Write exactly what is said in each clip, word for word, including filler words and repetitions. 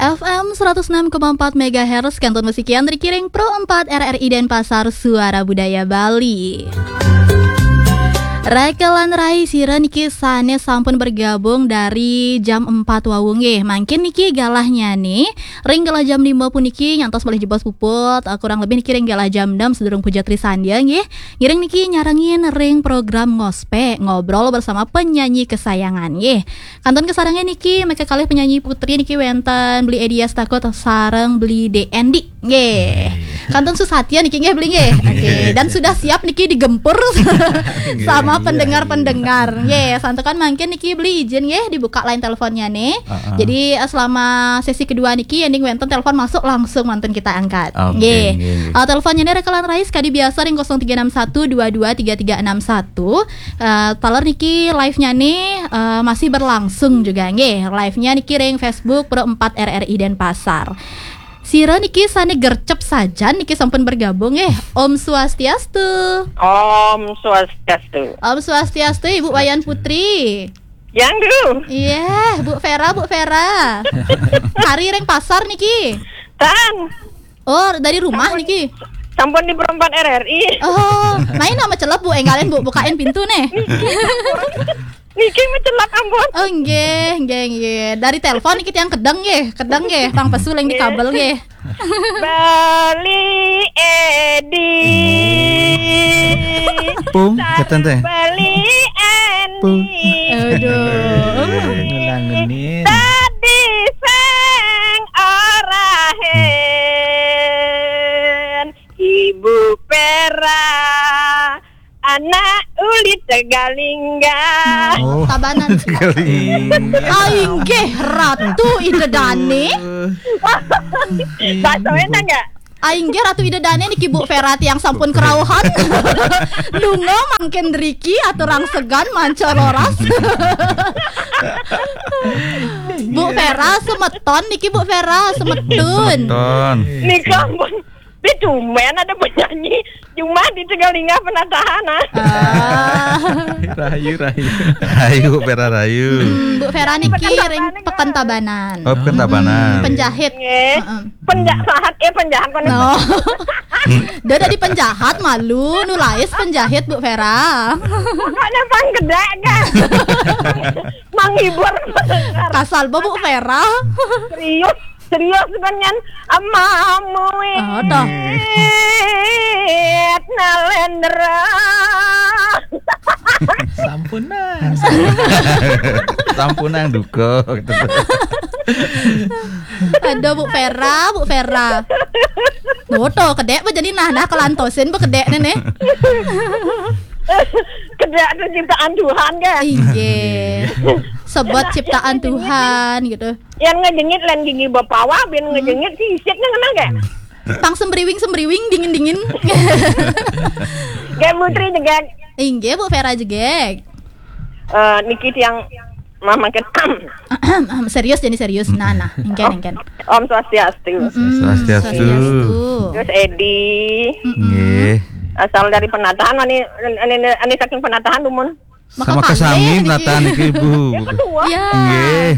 F M seratus enam koma empat megahertz, kantun masikian dari Kiring Pro empat R R I Denpasar, Suara Budaya Bali. Rekelan rai sira niki sane sampun bergabung dari jam empat wau nggih. Mangkin niki galahnya nih, ring galah jam lima puniki nyantos malih jebos puput, eh, kurang lebih niki ring galah jam enam sedurung puja Trisandya nggih. Ngiring niki nyarengin ring program Ngospe, ngobrol bersama penyanyi kesayangan nggih. Kantun kasarengin niki, mekakalih penyanyi putri niki wenten Beli Edia Stakut sareng Beli D N D. Nggih. Kantun susatya niki nggih Beli nggih. Oke, dan sudah siap niki digempur sama pendengar-pendengar. Nggih, santukan mangkin niki Beli izin nggih dibuka line teleponnya nih. Jadi, eh, selama sesi kedua niki, ending wenten telepon masuk langsung mantun kita angkat. Oke, nggih. Nggih, nggih. Eh, teleponnya nih rekelan rai sekadi biasa ring kosong tiga enam satu dua dua tiga tiga enam satu. Eh, taler niki live-nya nih, eh, masih berlangsung juga nggih. Live-nya niki ring Facebook Pro empat R R I Denpasar. Sira niki sane gercep sajan niki sampun bergabung nggih. Om Swastiastu. Om Swastiastu. Om Swastiastu, Ibu Wayan Putri. Yang dulu. Iya, Bu Vera, Bu Vera. Kari ring pasar niki. Tan. Oh, dari rumah niki. Sampun di Pro empat R R I. Oh, main nama celep Bu, enggalin Bu, bukain pintu nih. Niki mencelak ampun. Oh, nggih, nggih, nggih. Dari telepon niki tiang kedeng nggih, kedeng nggih, tang pesu leng di kabel nggih. Beli Edi. Pung, sareng keten teh. Beli Eni. Pung. Aduh. Ngelangenin. Tadi seng orahen Ibu Pera. Anak uli Tegalingga. Oh. Tabanan. Tegalingga. Ainggih Ratu Ida Dane. Bahasa enak nggak? Ainggih Ratu Ida Dane niki Bu Vera tiang sampun kerauhan. Lunga mangkin driki aturang segan manca roras. Bu Vera semeton niki Bu Vera semetun. Semeton. Nika ampun. Ini tumben ada penyanyi cuma di Tegalingga penatahan ah. Ah. Rahayu, rahayu. Rahayu, Bu Vera rahayu. Hmm, Bu Vera niki ring Peken Tabanan. Oh, Peken Tabanan. Penjahit. Nggih. Heeh. Penjahat, eh, penjahat kan. No. Dia dari penjahat malu, nulais penjahit Bu Vera. Pokoknya pang gede kan. Menghibur. Kasal Bu Vera. Serius. Serius kan nyan amamu. Oh, toh. Wit Nalendra. Sampunang. Sampunang duka gitu. Aduh, Bu Vera, Bu Vera. Tuh, tuh, kedek apa jadi nah, nah kelantosin bu kedek nih. Kedek itu ciptaan Tuhan kan? Iya. Sebab ciptaan Tuhan gitu. Yang ngejengit lan gigi bapawa, bin ngejengit si isiknya ngena gak? Pang sembriwing-sembriwing, dingin-dingin. Gak Putri jegek. Inggih, Bu Vera jegek. Eh, niki tiang mah makin serius, jadi serius. Nah, nah, engken, engken. Om Swastiastu. Mm-mm, Swastiastu. Swastiastu. Terus Edi. Mm-mm. Nggih. Asal dari penatahan, ani, ani, ani saking penatahan, dumun. Sama kasami niki. Melatan niki, Bu. Iya. Nggih.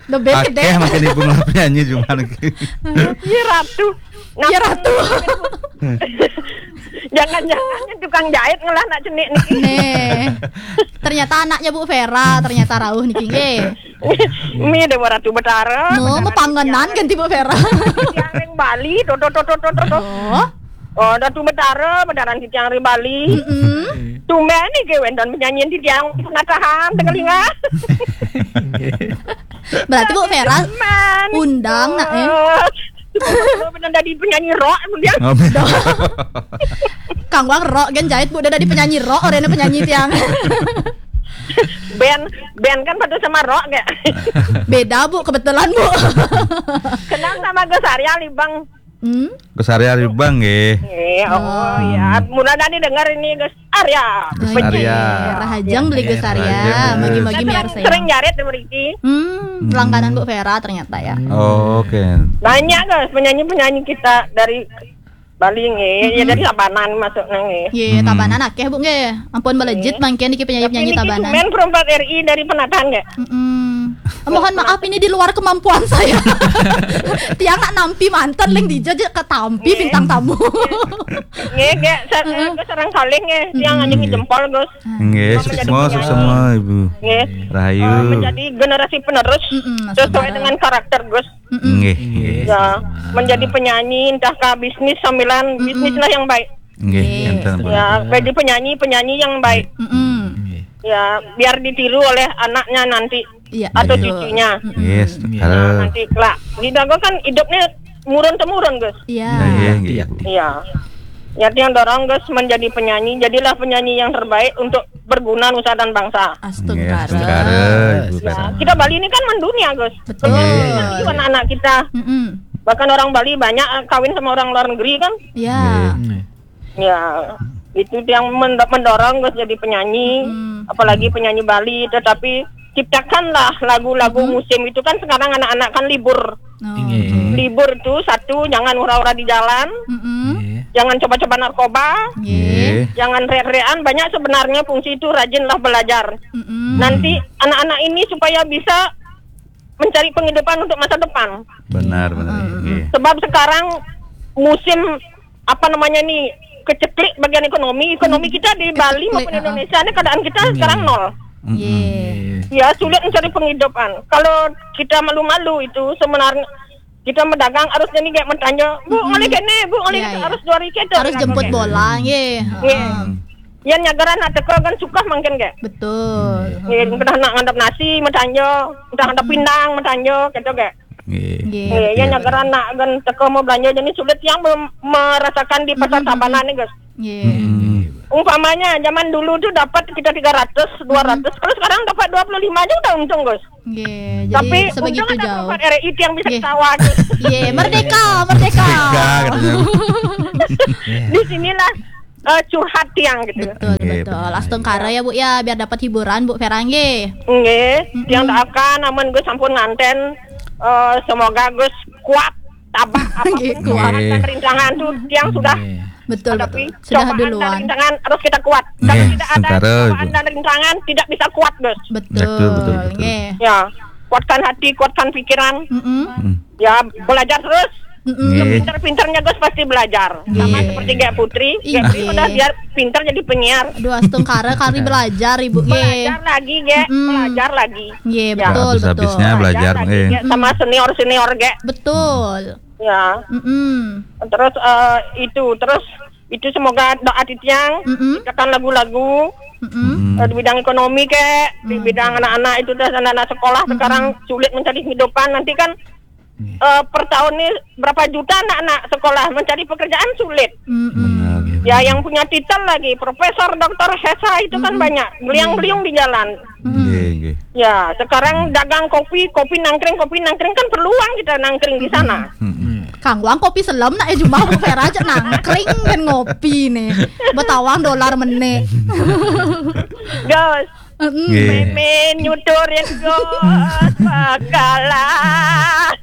Lebih gede. Akeh makin ibu ngelap nyanyi cuma niki. Iya, Ratu. Iya, Ratu. Jangan-jangan tukang jahit ngelah nak cenik niki. Nih. Ternyata anaknya Bu Vera, ternyata rauh niki nggih. Mi Dewa Ratu Betara. No, mepangenan ganti Bu Vera. Yang ring Bali, do, do, do. Oh. Oh, Datu Betara, bedaran titiang ring Bali. Mm-mm. Tumben niki wénten penyanyi titiang penatahan Tegalinga. Berarti Bu Vera undang nak, eh? Bener dadi penyanyi rock dia. Oh, bener. Kang Wang rock kan jahit Bu, udah dadi penyanyi rock, orangnya penyanyi tiang. Band, band kan pada sama rock ya. Beda Bu, kebetulan Bu. Kenal sama Gus Arya Libang. Hmm? Gus Arya Libang nggih. Nggih, oh, oh, iya. Mula tadi dengar ini Gus Arya. Gus Arya. Rahajeng beli Gus Arya. Rahajeng. Magi-magi sering, miarsa ya. Sering jarit di mriki. Hmm, langganan Bu Vera ternyata ya. Hmm. Oh, oke. Banyak Gus penyanyi-penyanyi kita dari Bali nggih, ya dari Tabanan masuk nang nggih. Iya, Tabanan akeh Bu nggih. Ampun melejit mangkin iki penyanyi-penyanyi Tabanan. Tapi niki Tabanan. Tumben Pro empat R I dari Penataan nggih. Mm-mm. Mohon maaf, ini di luar kemampuan saya. Tiang nak nampi manten, leng dija ja katampi bintang tamu. Nggih, nggih, sa- eh, sareng kalih nggih, tiang anjing jempol, Gus. Nggih, menjadi suksma, penyanyi. Suksma, Ibu. Nggih. Rahayu. Eh, menjadi generasi penerus sesuai dengan karakter, Gus. Nggih, nggih. Ya, menjadi penyanyi, entah ke bisnis sambilan, bisnislah yang baik. Nggih, enten, Bu. Ya, jadi penyanyi, penyanyi yang baik. Ya, biar ditiru oleh anaknya nanti. Iya, atau betul. Cucunya. Yes, iya. Nanti kelak. Kita kan hidupnya murun temurun, Gus. Iya. Iya, iya, iya. Iya. Ya, tiang dorong, Gus, menjadi penyanyi. Jadilah penyanyi yang terbaik untuk berguna nusa dan bangsa. Astungkara. Iya, astungkara, Ibu. Ya, Kara. Kita Bali ini kan mendunia, Gus. Betul. Iya. Anak-anak kita. Mm-mm. Bahkan orang Bali banyak, eh, kawin sama orang luar negeri kan. Iya. Iya. Ya, itu yang men- mendorong, Gus, jadi penyanyi, apalagi penyanyi Bali. Tetapi ciptakanlah lagu-lagu musim itu kan sekarang anak-anak kan libur. Oh, oke. Libur tuh satu, jangan ura-ura di jalan, jangan coba-coba narkoba, jangan rek-rekan. Banyak sebenarnya fungsi itu, rajinlah belajar. Nanti anak-anak ini supaya bisa mencari penghidupan untuk masa depan. Benar, benar. Sebab sekarang musim, apa namanya nih, keceklik bagian ekonomi. Ekonomi kita di Bali maupun Indonesia ini keadaan kita sekarang nol. Ya, sulit mencari penghidupan. Kalau kita malu-malu itu sebenarnya kita mendagang harus jadi kayak mentanyo, "Bu, ngoleh kene, Bu, ngoleh kene." Harus dua hari kita. Harus jemput bola, nggih. Nggih. Yang nyagaran nak teko kan suka mungkin kayak. Betul. Nggih, udah nak ngadap nasi mentanyo, udah ngadap pindang mentanyo, gitu kayak. Nggih. Nggih, yang nyagaran nak kan teko mau belanja jadi sulit yang mem- merasakan di pasar Tabanan nih, Gus. Nggih. Umpamanya zaman dulu tuh dapat kita tiga ratus, dua ratus, kalau sekarang dapat dua puluh lima aja udah untung, Gus. Nggih. Tapi jadi sebegitu untung ada jauh. Perubahan R I yang bisa ketawa, Gus. Nggih, merdeka, merdeka. Merdeka, katanya. Di sinilah, eh, curhat tiang gitu. Betul, betul. Astungkara ya, Bu, ya, biar dapat hiburan, Bu Vera, nggih. Nggih, tiang doakan amun Gus sampun nganten, eh, semoga Gus kuat, tabah apapun cobaan dan rintangan tuh tiang sudah hadapi. Betul, betul. Sudah cobaan dan rintangan harus kita kuat. Kalau tidak ada cobaan dan rintangan, tidak bisa kuat, Gus. Betul, betul, betul. Nggih. Ya, kuatkan hati, kuatkan pikiran. Ya, belajar terus. Pinter-pinternya Gus pasti belajar. Sama seperti Gek Putri. Gek Putri udah biar pinter jadi penyiar. Aduh, astungkara kari belajar, Ibu. Belajar lagi, Gek. Belajar lagi. Nggih, betul, betul. Habis-habisnya belajar, lagi, Gek, sama senior-senior, Gek. Betul. Ya. Terus, eh, itu, terus itu semoga doa titiang, ciptakan lagu-lagu, eh, di bidang ekonomi, Kek, di bidang anak-anak itu, dah, anak-anak sekolah sekarang sulit mencari kehidupan. Nanti kan, eh, per tahun ini berapa juta anak-anak sekolah mencari pekerjaan sulit. Benar, ya, yang punya titel lagi profesor, doktor, S H itu kan banyak, beliang-beliung di jalan. Nggih, nggih. Ya, sekarang dagang kopi, kopi nangkring, kopi nangkring kan perlu uang kita nangkring di sana. Kang Wang kopi selem nak ya jumah Bu Vera aja nangkring kan ngopi nih. Betawang dolar meneh. Gus. Nggih. Meme nyuturin Gus bakalan.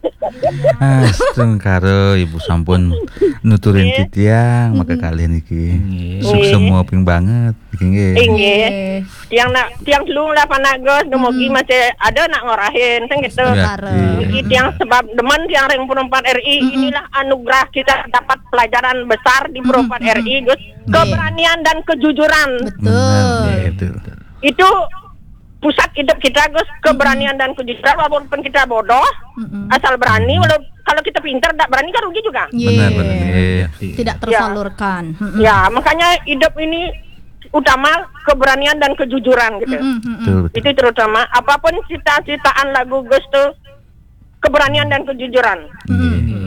Astungkara Ibu sampun nuturin titiang, maka kalian iki. Nggih. Suksma ping banget iki nggih. Nggih. Tiang nak, tiang dulu lah panak Gus, dumugi masih ada nak ngorahin, kan gitu. Astungkara. Iki tiang sebab demen tiang ring perempat R I, inilah anugerah kita dapat pelajaran besar di perempat R I, Gus. Nggih. Keberanian dan kejujuran. Betul. Benar, betul. Itu pusat hidup kita, Gus, keberanian dan kejujuran, walaupun kita bodoh, asal berani, walau kalau kita pintar, tak berani kan rugi juga. Benar, benar. Iya. Tidak tersalurkan. Ya, makanya hidup ini utama keberanian dan kejujuran gitu. Betul, betul. Itu terutama, apapun cita-citaan lagu Gus tuh, keberanian dan kejujuran.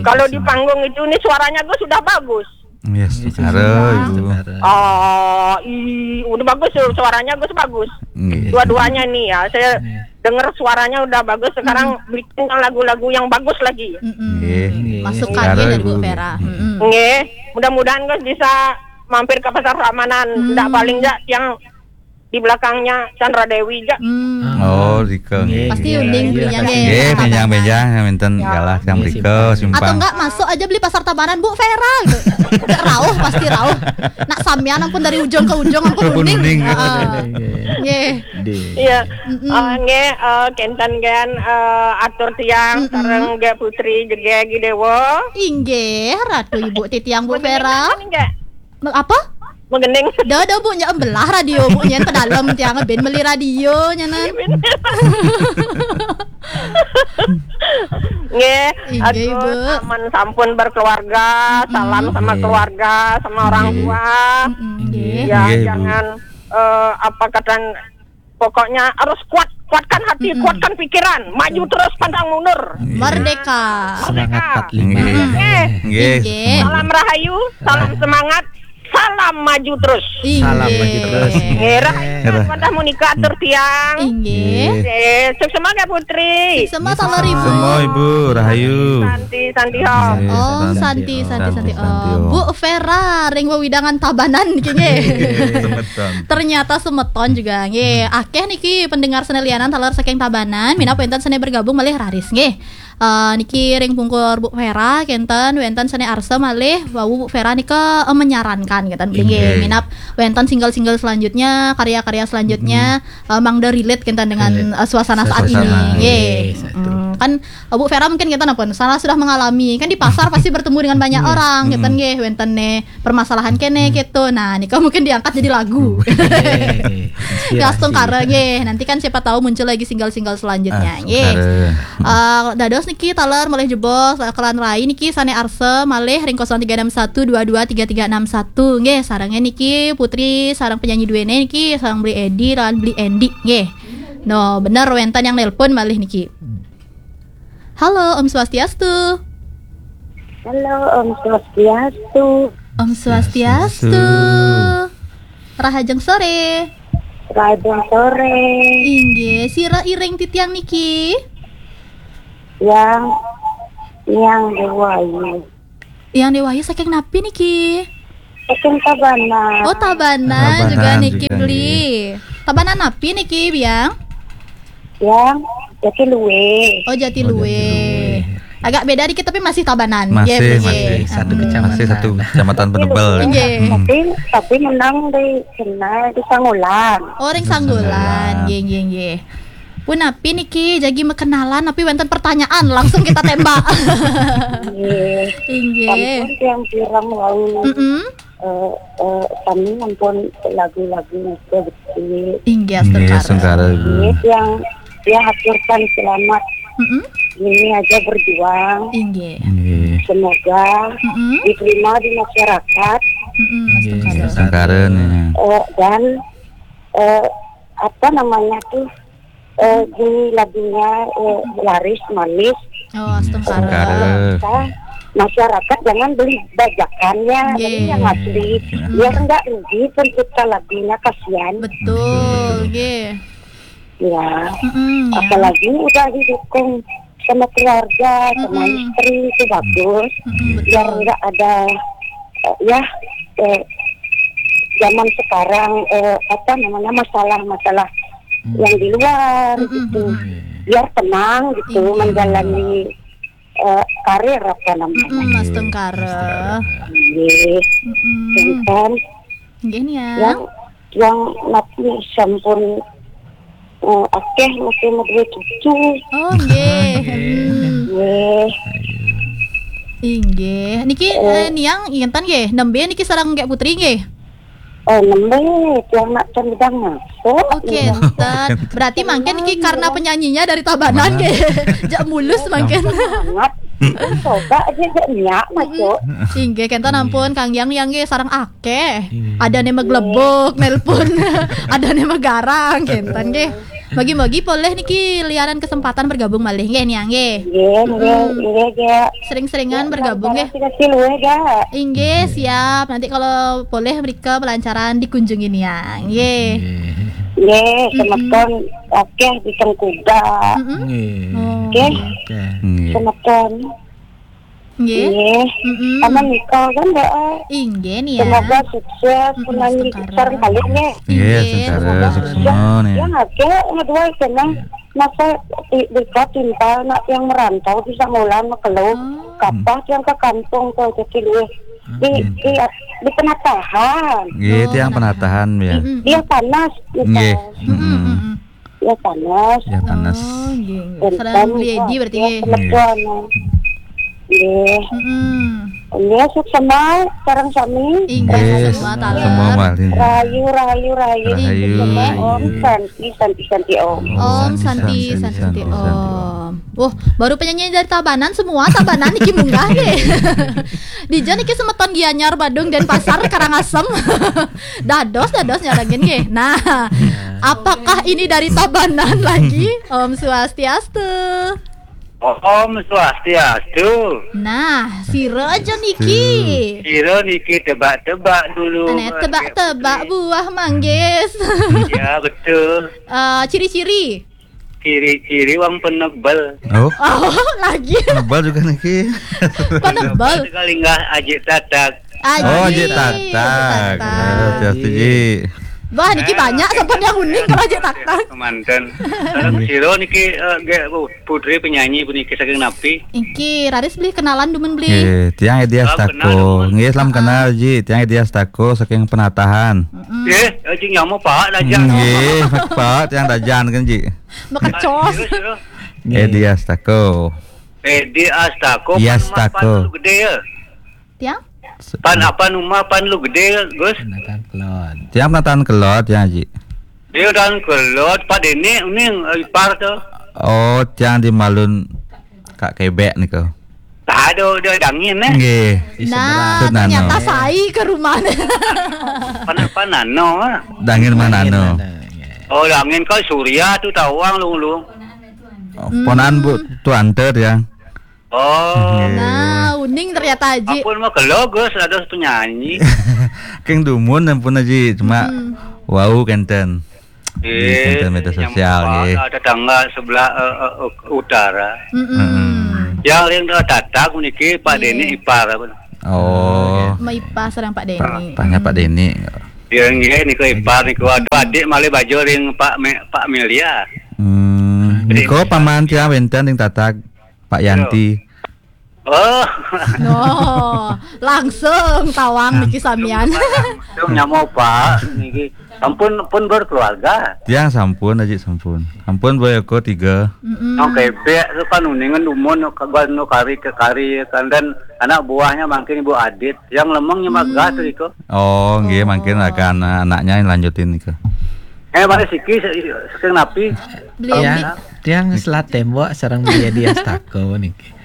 Kalau di panggung itu, ini suaranya Gus sudah bagus. Yes, astungkara, Ibu. Oh, i, udah bagus tuh, suaranya Gus bagus. Nggih. Dua-duanya nih ya, saya dengar suaranya udah bagus, sekarang bikin lagu-lagu yang bagus lagi. Nggih. Masukannya dari Bu Vera. Nggih, mudah-mudahan Gus bisa mampir ke Pasar Pramanan. Ndak paling ndak yang di belakangnya Chandra Dewi ja. Hmm. Oh, rika nggih. Pasti uning belinya nggih. Nggih, menjang-menjang minten galah yang rika simpang. Atau enggak masuk aja beli pasar Tabanan, Bu Vera gitu. Enggak rauh, pasti rauh. Nak sampean ampun dari ujung ke ujung ampun uning. Heeh. Nggih. Iya. Eh, nggih, eh, kenten kan, eh, atur tiang sareng nggih Putri Jegegi Dewa. Inggih, Ratu Ibu titiang Bu Vera. Apa? Menggending. Dah, dah, Bu, nya belah radio, Bu, nyen pedalem tiang ben beli radio nyenan. Nggih, inggih, Bu. Aman sampun berkeluarga, salam sama keluarga, sama orang tua. Nggih. Ya, jangan, eh, apa kata, pokoknya harus kuat, kuatkan hati, kuatkan pikiran, maju terus, pantang mundur. Merdeka. Semangat empat lima. Nggih. Nggih. Salam rahayu, salam semangat, salam maju terus. Salam maju terus. Nggih, rahayu, Wanda Monica atur tiang. Inggih. Nggih, sukses semangat Putri. Sukses semangat Ibu. Semua Ibu, rahayu. Santi, Santi, Om. Om Santi, Santi, Santi, Om. Bu Vera, ring wewidangan Tabanan niki nggih. Ternyata semeton juga nggih. Akeh niki pendengar sene lianan taler saking Tabanan, minab wenten sene bergabung malih raris nggih. Eh, niki ring pungkur Bu Vera kenten wenten sene arsa malih wau Bu Vera nika, eh, menyarankan kenten nggih. Minab wenten single-single selanjutnya, karya-karya selanjutnya, eh, mangda relate kenten dengan, eh, suasana saat ini nggih. Hmm, kan, eh, Bu Vera mungkin kenten apa? Salah sudah mengalami. Kan di pasar pasti bertemu dengan banyak orang, kenten nggih wenten ne permasalahan kene gitu. Nah, nika mungkin diangkat jadi lagu. Nggih, astungkara nggih. Nanti kan siapa tahu muncul lagi single-single selanjutnya nggih. Eh, dados niki taler malih jebos, eh, kelan rai niki sane arsa malih ring kosong tiga enam satu dua dua tiga tiga enam satu nggih. Sarenge niki Putri sareng penyanyi duene niki sareng Beli Edi lan Beli Endi nggih. No, bener wenten yang nelpon malih niki. Halo, Om Swastiastu. Halo, Om Swastiastu. Om Swastiastu. Rahajeng sore. Rahajeng sore. Inggih, sira iring titiang niki? Yang, yang Dewayu. Yang Dewayu saking napi niki? Saking Tabanan. Oh, Tabanan juga niki beli. Tabanan napi niki, Biang? Yang Jatilue. Oh, Jatilue. Agak beda dikit tapi masih Tabanan. Masih, masih satu kecamatan. Masih satu kecamatan Penebel. Nggih. Tapi, tapi menang di sana di Sangulan. Oh, ring Sangulan. Nggih, nggih, nggih. Punapi niki jagi makenalan, tapi wenten pertanyaan langsung kita tembak. Nggih. Inggih. Sampun tiang pirang wau. Mm-mm. Eh, eh, kami sampun lagu-lagu nika betul. Inggih, astungkara. Nggih, tiang, tiang haturkan selamat. Mm-mm. Ini aja berjuang. Inggih. Semoga diterima di masyarakat. Mm-mm, astungkara. Astungkara nih. Eh, dan, eh, apa namanya tuh, eh, di lagunya, eh, laris manis. Oh, astungkara. Astungkara. Kita, masyarakat jangan beli bajakannya, beli yang asli. Biar nggak rugi pencipta lagunya, kasihan. Betul, nggih. Ya. Mm-mm, ya. Apalagi udah didukung sama keluarga, sama istri, itu bagus. Mm-mm, betul. Biar nggak ada, eh, ya, eh, zaman sekarang, eh, apa namanya, masalah-masalah yang di luar gitu. Biar tenang gitu menjalani, eh, karir apa namanya. Mm-mm, astungkara. Nggih. Mm-mm. Nggih, nih ya. Yang, yang napi sampun, eh, akeh masih duwe cucu. Oh, nggih. Nggih. Inggih. Niki, eh, niang ingetan nggih, nembe niki sareng Kak Putri nggih. Oh, nembe tiang nak tendang masuk. Oke, enten. Berarti mangkin niki karena penyanyinya dari Tabanan nggih. Jak mulus mangkin. Semangat. Coba aja jak nyak masuk. Inggih, kenten ampun Kang Yang, Yang nggih sareng akeh. Ada ne maglebok nelpon. Ada ne magarang kenten nggih. Bagi-bagi polih niki lianan kesempatan bergabung malih nggih niang nggih. Nggih, nggih, nggih, nggih. Sering-seringan bergabung nggih. Terima kasih luwih, Kak. Inggih, siap. Nanti kalau polih mrika pelancaran dikunjungi niang nggih. Nggih, semeton akeh di Tengkuda. Nggih. Nggih. Semeton. Nggih. Nggih. Mm-mm. Sama nikah kan, Mbak? Inggih nih ya. Semoga sukses, mm-mm, menangi sekarang kalian ya. Nggih, nggih, semoga sukses semua nih. Yang ada yang dua senang masa di, di cinta nak yang merantau bisa mulan makelo. Oh. Kapah yang ke kampung tuh jadi luwih di, hmm, di, di penatahan. Nggih, oh, tiang penatahan. Penatahan ya. Mm-mm. Dia panas gitu. Nggih. Mm-mm. Mm-mm. Ya panas. Ya panas. Oh, nggih, nggih. Sareng Beli Edi berarti nggih. Nggih. Nggih. Mm-mm. Nggih, suksema sareng sami. Inggih, nggih, suksema taler. Semua mah, nggih. Rahayu, rahayu, rahayu. Rahayu, rahayu. Om Santi, Santi, Santi Om. Om Santi, Santi, Santi, Santi, Santi Om. Wah, baru penyanyi dari Tabanan semua, Tabanan niki munggah nggih. Dija niki semeton Gianyar, Badung, Denpasar, Karangasem. Dados, dados nyarengin nggih. Nah, apakah ini dari Tabanan lagi? Om Swastiastu. Om Swastiastu. Nah, sira aja niki. Sira niki tebak-tebak dulu. Aneh, tebak-tebak buah manggis. Ya, betul. Eh, ciri-ciri. Ciri-ciri wong penebel. Oh. Oh, lagi. Penebel juga niki. Penebel. Sekali nggak ajik tatak. Aji. Oh, ajik tatak. Ajik tatak. Ya, hati-hati, Ji. Wah, niki banyak sampun yang uning kalau ajik tatak. Kemanten. Sareng sira niki, eh, nggih, oh, putri penyanyi puniki saking napi? Iki, raris beli kenalan dumun beli. Eh, tiang Edi Astako. Salam kenal, dumun. Nggih, salam kenal, Ji. Tiang Edi Astako saking Penatahan. Mm-mm. Nggih, eh, cing nyama Pak Dajan. Nggih, Pak, tiang Dajan kan, Ji. Makecos. Terus, terus. Nggih. Edi Astako. Edi Astako, iya, pan Mas Astako. Pan lu gede ya? Tiang? Pan apa nama pan lu gede, Gus? Penatahan Kelod. Tiang Penatahan Kelod, ya, Ji. Dia Penatahan Kelod, Pak Deni, ini, eh, ipar tuh. Oh, tiang di Malun Kak Kebek nih kau. Tak ada, udah dangin, eh. Nggih. Nah, ternyata saya ke rumahnya. Pan, pan nano, ah. Dangin mah nano. Dangin mah nano, ya. Oh, dangin kau Surya tuh tawang lu, lu. Oh, ponan Bu Tuante ya. Oh. Nggih. Nah, uning ternyata, Aji. Ampun mah kelo, Gus, ada penyanyi. King dumun ampun, Aji, cuma wau kenten. Nggih, kenten media sosial, nggih. Ada tetangga sebelah, eh, eh, utara. Mm-mm. Yang ring tatak niki Pak Deni ipar apa? Oh. Ma ipar sareng Pak Deni. Tanya Pak Deni. Ya nggih niku ipar niku. Aduh, adik malih bajo ring Pak Me-, Pak Melia. Hmm, niku paman tiang wenten ring tatak. Pak Yanti. Oh. No, langsung tawang niki samian. Langsung nyamuk, Pak, niki. Sampun pun berkeluarga. Tiang sampun, Aji, sampun. Sampun boyoko tiga. Mm-mm. Nang kebek tu kan uningan dumun nu kaban nu kari ke kari kan dan anak buahnya mungkin Ibu Adit. Yang lemengnya magah tu iko. Oh, nggih, mungkin akan, eh, anaknya yang lanjutin iko. Eh, mari siki se-, saking napi? Beli tiang, Endi. Tiang selat tembok sareng Beli Edi Astako niki.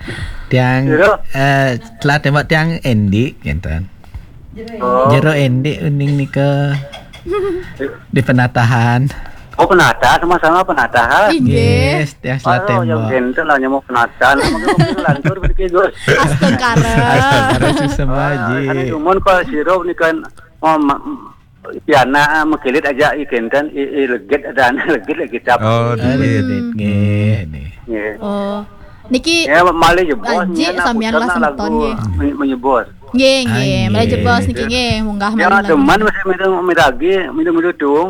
Tiang, eh, selat tembok tiang Endi, ngenten. Oh. Jero Endi uning nika di Penatahan. Oh, Penatahan, sama-sama Penatahan. Inggih. Yes, tiang selat tembok. Oh, yang enten lah nyamuk Penatahan. Mungkin, mungkin lantur begitu, Gus. Astungkara. Astungkara semua, Ji. Kan cuman kalau sirup ni kan, oh, ma-, piana, ah, mekilit aja i kenten, i, i legit ada anak legit lagi cap. Oh, legit. Nggih, nggih. Oh. Niki ya, malih jebos, Aji, samian lah semeton, nggih. Menyebos. Nggih, nggih, malih jebos niki nggih, munggah malih. Ya, teman masih minum, minum lagi, minum dulu dong.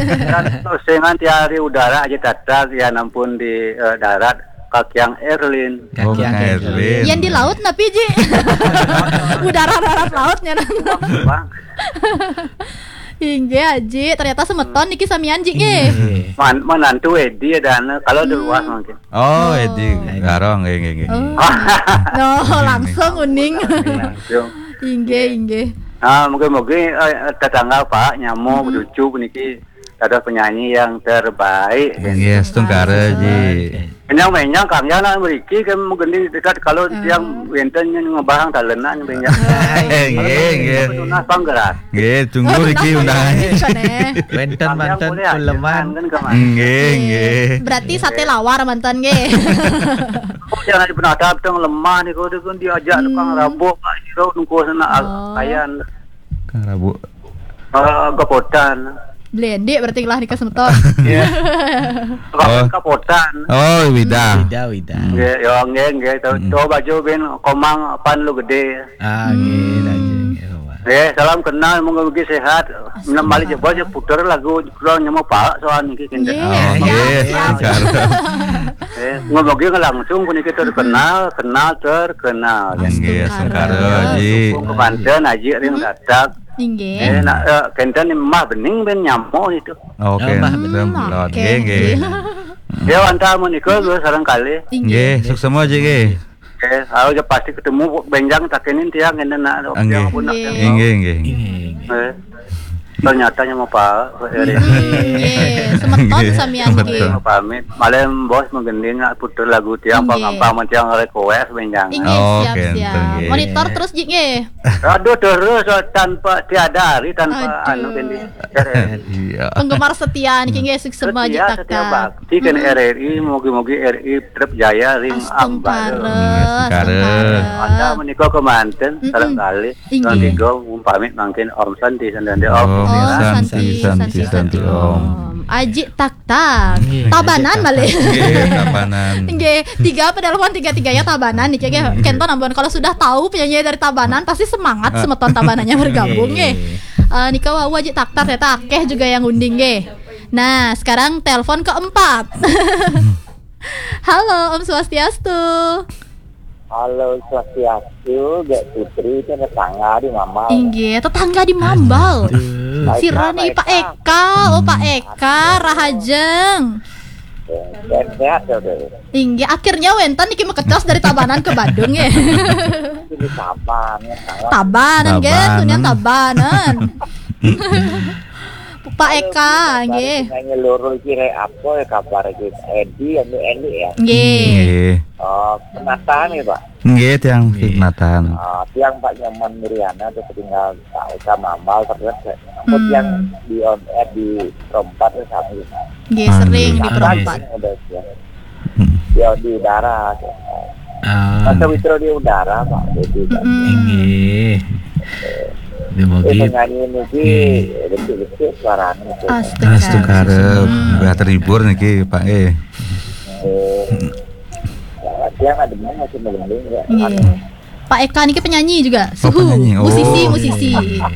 Dan terus dengan tiari udara aja tatak, ya nampun di, eh, darat, Kakiang Erlin. Oh, Kakiang Erlin. Yang di laut napi, Ji? Udara darat lautnya. Bang. Inggih, Aji. Ternyata semeton niki samian, Ji, nggih. Inggih. Man-, menantu Edi dan kalau di luar mungkin. Oh, Edi. Garong, nggih, nggih, nggih. Oh. No, langsung uning. Langsung. Inggih, inggih. Ah, mungkin-mungkin, eh, tetangga Pak nyamuk, cucu niki ada penyanyi yang terbaik. Yes, astungkara, Ji. Menyang-menyang Kang Yana mriki kan mungkin dekat kalau tiang wenten yang ngebahang talenan menyang. Eh, nggih, nggih. Tunas panggerak. Nggih, tunggu riki undangannya. Wenten manten pun leman. Nggih, nggih. Berarti sate lawar manten nggih. Oh, jangan dipun ada teng lemah niku, niku diajak tukang rabuk, Pak Jiro nunggu sana kayan. Tukang rabuk. Eh, gepotan. Blendik berarti lah nika semeton. Iya. Kapotan. Oh, Wida. Wida, Wida. Nggih, yo nggih nggih. Tuh, tuh baju bin Komang pan lu gede. Ah, nggih, nggih, nggih. Nggih, salam kenal, moga mugi sehat. Menem balik je bos, puter lagu pulang nyemu pak soal niki kinten. Nggih, oh, nggih, siap, siap. Eh, ngomogi langsung puniki terkenal, kenal terkenal. Nggih, astungkara, Ji. Dukung kemanten aji ring dadak. Inggih. Eh, nak, eh, kenten mah bening ben nyamo itu. Oke, oh, mah bening. Nggih, nggih. Ya, wantah menika sareng kalih. Inggih, suksema, Ji, nggih. Eh, ayo pasti ketemu benjang takenin tiang ini nak. Nggih. Inggih, inggih. Eh, ternyata nyama Pak Eri. Nggih, semeton samian nggih. Pamit. Malem bos menggending nak puter lagu tiang panggampang tiang request benjang. Inggih, siap, siap. Monitor terus, Ji, nggih. Aduh, terus, oh, tanpa tiada hari tanpa anu gini. Iya. Penggemar setia niki nggih, suksema Ji Taktak. Setia bakti kan R R I, mugi-mugi R R I trep jaya ring ambal. Astungkara. Anda menika kemanten sareng kalih. Inggih. Pamit mangkin Om Santi, Santi, Om. Oh, Santi, Santi, Santi, Om. Aji Taktak. Tabanan malih. Nggih, Tabanan. Nggih, tiga penelpon tiga-tiganya Tabanan niki nggih. Kenten ampun kalau sudah tahu penyanyi dari Tabanan pasti semangat semeton Tabanannya bergabung nggih. Eh, nika wau Aji Taktak ya, akeh juga yang ngunding nggih. Nah, sekarang telepon keempat. Halo, Om Swastiastu. Halo, Swastiastu, Gek Putri, itu tetangga di Mambal. Inggih, tetangga di Mambal. Aduh. Sirane Pak Eka, oh Pak Eka, rahajeng. Sehat, sehat, ya, udah. Inggih, akhirnya wenten niki mekecos dari Tabanan ke Badung ya. Itu di Taban, ya, Taban. Tabanan, nggih, Tabanan. Tunian Tabanan. Pak Eka, nggih. Nyanyi loro iki rek apa ya kabar iki? Edi, anu Edi ya? Nggih. Nggih. Oh, penataan ya, Pak? Nggih, tiang penataan. Ah, tiang Pak Nyoman Muriana tuh tinggal Pak Eka Mambal terus ya. Apa tiang di on air di Rompat ya, sami. Nggih, sering di Rompat. Udah ya. Hmm. Ya, di udara. Ah. Masa Witro di udara, Pak. Jadi, Pak. Mm-mm. Inggih. Dia mau gitu. Nyanyi niki, nggih, betul-betul suaranya tuh. Astungkara. Astungkara. Hmm. Udah terhibur niki, Pak, eh. Eh. Ya, dia ada masih melendung, ya. Nggih. Anu. Pak Eka niki penyanyi juga. Oh, suhu. Penyanyi. Oh, musisi, iya, musisi. Iya.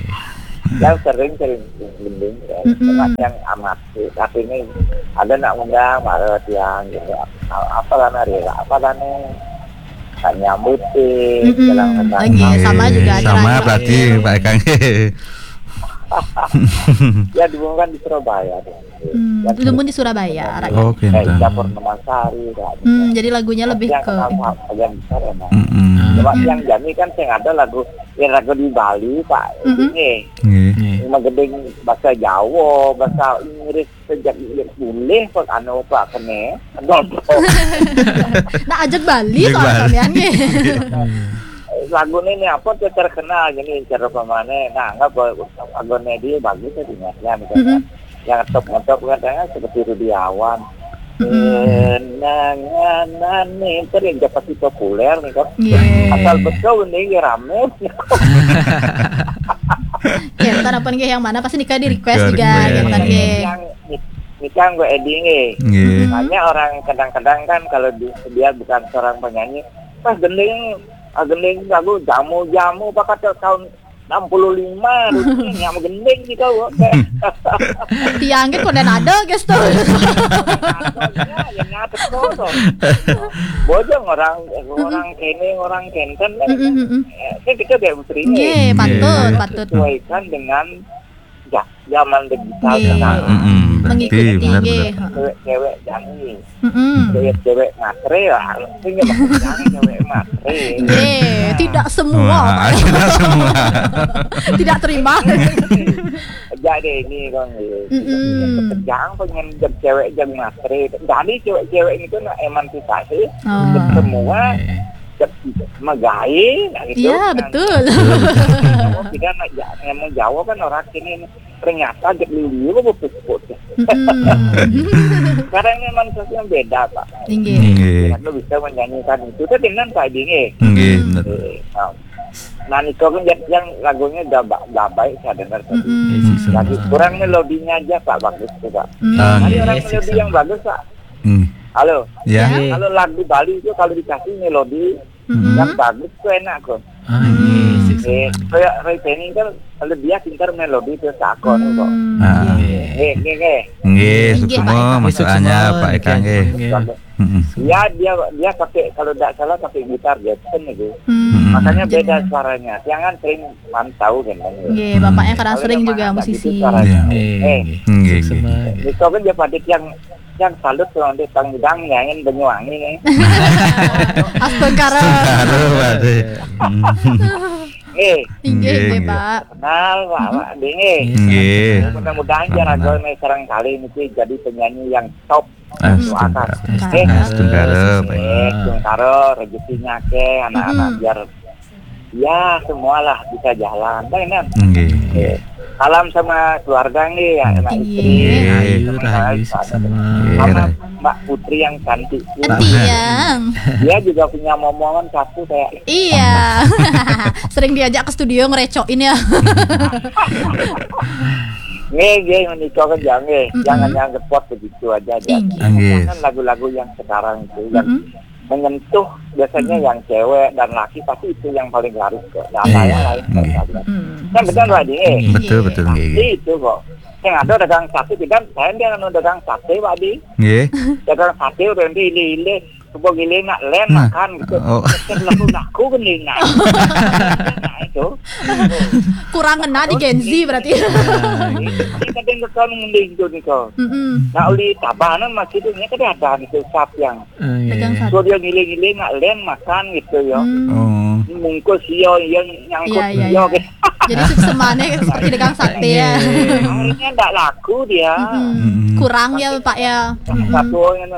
Yang sering, sering melendung, ya. Mm-mm. Cuma yang amat. Tapi ini ada nak undang, marah tiang gitu. Apa lah nari, apa lah nih? Tak nyambut sih, mm-mm, jalan tentang lagi, sama juga ada sama lagi. Berarti Pak Eka. Ya, diumumkan di Surabaya. Hmm, ya, diumumkan di Surabaya. Oh, eh, campur Purnamasari, ya. Hmm, jadi lagunya lebih yang ke kenal itu. Yang besar emang. Mm-mm. Cuma yang Jami kan yang ada lagu, ya lagu di Bali, Pak. Mm-mm. Ini. Nggih. Nggih. Cuma gedeng bahasa Jawa, bahasa Inggris, sejak boleh kok anu kok kene. Nah, ajak Bali soal sampean nggih. Lagu ini apa tuh terkenal gini cara pemane. Nah, enggak boleh lagu ini dia bagus ya diingatnya misalnya. Mm-mm. Yang top top katanya seperti Rudiawan. Mm-mm. Kenangan nih, itu yang dapat populer nih kan. Iya. Asal betul ini ya rame. Kenten apa nggih yang mana pasti nika di request juga, request. Kenten nggih. Yang Nikang gue Edi nggih. Nggih. Makanya orang kadang-kadang kan kalau di, dia bukan seorang penyanyi, pas gending, ah, gending lagu jamu-jamu apa kata tahun enam puluh lima dulu nih, yang gending gitu. Tiang kan konden ada guys tuh. Ya, yang nyatet tuh. Bojong orang, orang kene, orang kenten kan. Mm, mm, mm, mm. Eh, kan kita kayak musri. Nggih, patut, patut. Sesuaikan dengan zaman digital sekarang. Mm-mm, mengikuti, benar, nggih. Cewek-cewek jangi. Mm-mm. Cewek-cewek matre ya, artinya maksudnya cewek matre. Nggih, tidak semua, Pak. Tidak semua. Tidak terima. Jadi ini kan, mm-mm, jangan pengen jadi cewek jangan matre. Jadi cewek-cewek itu nak emansipasi. Oh. Semua megai, nah gitu. Iya, betul. Kita nak ja-, emang Jawa kan orang sini ternyata jek dulu kok putus-putus. Mm-mm. Sekarang ini manusianya beda, Pak. Inggih. Inggih. Kita bisa menyanyikan itu, tapi dengan Pak Edi nggih. Inggih, bener. Eh, nah. Nah, Niko kan yang, yang lagunya udah, ba- udah baik saya dengar tadi. Mm-mm. Iya, sih, sama. Lagi kurang melodinya aja, Pak, bagus tuh, Pak. Mm. Ah, Tadi iya, orang iya, melodi sama. Yang bagus, Pak. Hmm. Halo? Ya. Iya. Kalau lagu Bali itu kalau dikasih melodi Mm-mm. yang bagus tuh enak kok. Ah, iya, sih, Eh, sama. Kayak Roy Penny kan kalau dia pintar melodi tuh sakon kok. Hmm, Ah. Iya. Iya. Eh, eh, eh. Nggih, Nggih, suksema Pak Eka. Maksudnya Suksema, Pak Eka nggih, nggih. Nggih. Mm-mm. Ya, dia dia pakai, kalau tidak salah pakai gitar Gibson itu. Hmm. Mm-mm. Makanya beda suaranya. Jangan sering mantau kan. Nggih, Bapak Hmm. Eka Kalau sering yang juga mana tak gitu musisi. Suaranya. Nggih, Eh, nggih. Nggih, Suksema, nggih. Nggih. Itu kan dia pada yang yang salut tuh nanti tangidang nyanyiin Banyuwangi nih. Astungkara. Astungkara, Pak, deh. Hmm. Eh, Inggih, Nggih, inggih, nggih. Pak. Kenal, Pak, Mm-mm. Pak, deh, eh. Nggih. Mudah-mudahan Amin. Jarago nih sekarang kali ini jadi penyanyi yang top. Astungkara. Astungkara. Eh, Astungkara, Pak. Eh, Astungkara, rezekinya ke anak-anak Mm-mm. biar ya semualah bisa jalan. Nah, ini. Nggih, nggih. Eh, salam sama keluarga nggih, ya, anak Nggih. Istri. Nggih. Ayu, Rahayu, Pak. Suksema. Nggih, Sama Rahayu. Mbak Putri yang cantik. Enti yang. Dia juga punya momongan satu kayak Iya. Sering diajak ke studio ngerecokin ya. Nggih, nggih, menikah kan jangan, nggih. Mm-mm. Jangan yang repot begitu aja, aja. Inggih. Nggih. Kan lagu-lagu yang sekarang itu yang Mm-mm. menyentuh biasanya Mm-mm. yang cewek dan laki, tapi itu yang paling laris kok. Nah, Iya, yang lain nggih. Sekalian. Mm. Kan benar, Pak Di, eh? Betul, Iya. Betul, nggih, nggih. Itu kok. Yang ada dagang sate, tidak, saya dia anu dagang sate, Pak Di. Nggih. Dagang sate udah nanti ile-ile, coba gile nak len Nah. Makan gitu. Oh. Terus laku-laku kan dia nak. Nah, itu. Kurang ngena di Gen Z berarti. Nah, iya. Ini kadang ke kamu mending gitu nih kau. Mm-mm. Nak uli tabanan masih tu, ni kadang ada gitu sap yang. Ah, iya, Dagang iya. Sate. So dia ngile-ngile nak len makan gitu ya. Hmm. Oh. Mungkus iya, iya nyangkut Iya, iya, iya, iya. Gitu. Jadi suksemane seperti dagang sate ya. Iya, iya, iya. Akhirnya ndak laku dia. Mm-mm. Mm-mm. Kurang ya, Pak, ya. Mm-mm. Satu orang yang,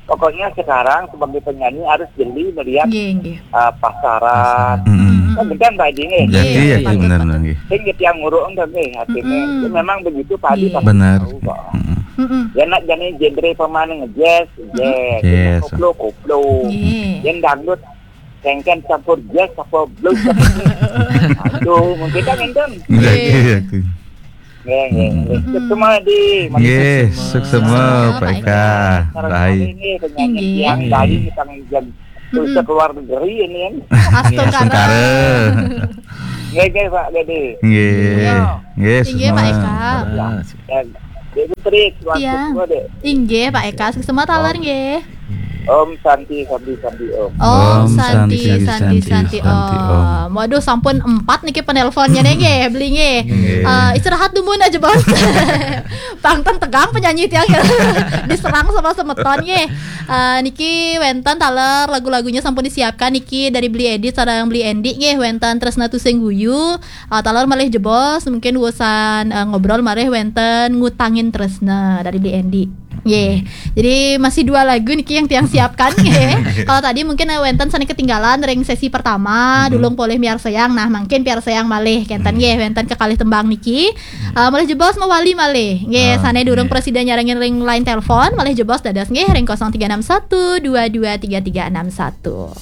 pokoknya sekarang sebagai penyanyi harus jeli melihat, Nggih, nggih. Uh, pasaran. Mm-mm. Mm-mm. Kan benar, Pak Edi, nggih? Jadi, Iya, ya, iya, benar, benar, nggih. Sing tiang nguruk enggak, nggih, artinya. Mm-mm. Itu memang begitu, Pak Edi, Iya. Pasti Benar. Tahu kok. Mm-mm. Mm-mm. Ya, nak jadi genre pemain jazz, Mm-mm. Jazz, Jazz. Koplo, koplo. Iya. Yang dangdut, kengken campur jazz apa blues. Aduh, mungkin kan enten. Iya, Iya. Iya, iya. Nggih, nggih, nggih. Mm-mm. Suksema di Nggih, suksema, Pak Eka. Sekarang Baik. Kali ini penyanyi Inggih. Yang Bali tentang jam Mm-mm. Terus ke luar negeri ini kan. Astungkara. Astungkara. Nggih, nggih, Pak Gede. Nggih. Iya. Nggih, Inggih, Pak semua. Eka. Ah, Ya. Dek Putri, keluarga Iya. Semua, Dek. Inggih, Pak Eka, suksema taler nggih. Om Santi, Santi, Santi, Om. Om Om Santi, Santi, Santi, Santi, Santi, Santi, Om. Om. Waduh, sampun empat niki penelponnya nih nggih, beli nggih. Nggih. Eh, istirahat dulu aja, Bos. Pang ten tegang penyanyi tiang ya. Diserang sama semeton nggih. Eh, niki wenten taler lagu-lagunya sampun disiapkan niki dari Beli Edit sareng Beli Endi nggih, wenten Tresna Tusing Guyu. Eh, taler malih jebos mungkin urusan, eh, ngobrol malih wenten Ngutangin Tresna dari Beli Endi. Nggih. Jadi masih dua lagu niki yang tiang siapkan nggih. Kalau tadi mungkin, eh, wenten sane ketinggalan ring sesi pertama, Mm-mm. Dulung Polih Miarsayang. Nah, mungkin piarsayang malih kenten Mm. nggih wenten kekalih tembang niki. Eh, malih jebos mawali malih. Nggih, Ah, sane durung nggih. Presida nyarengin ring line telepon, malih jebos dados nggih ring kosong tiga enam satu dua dua tiga tiga enam satu.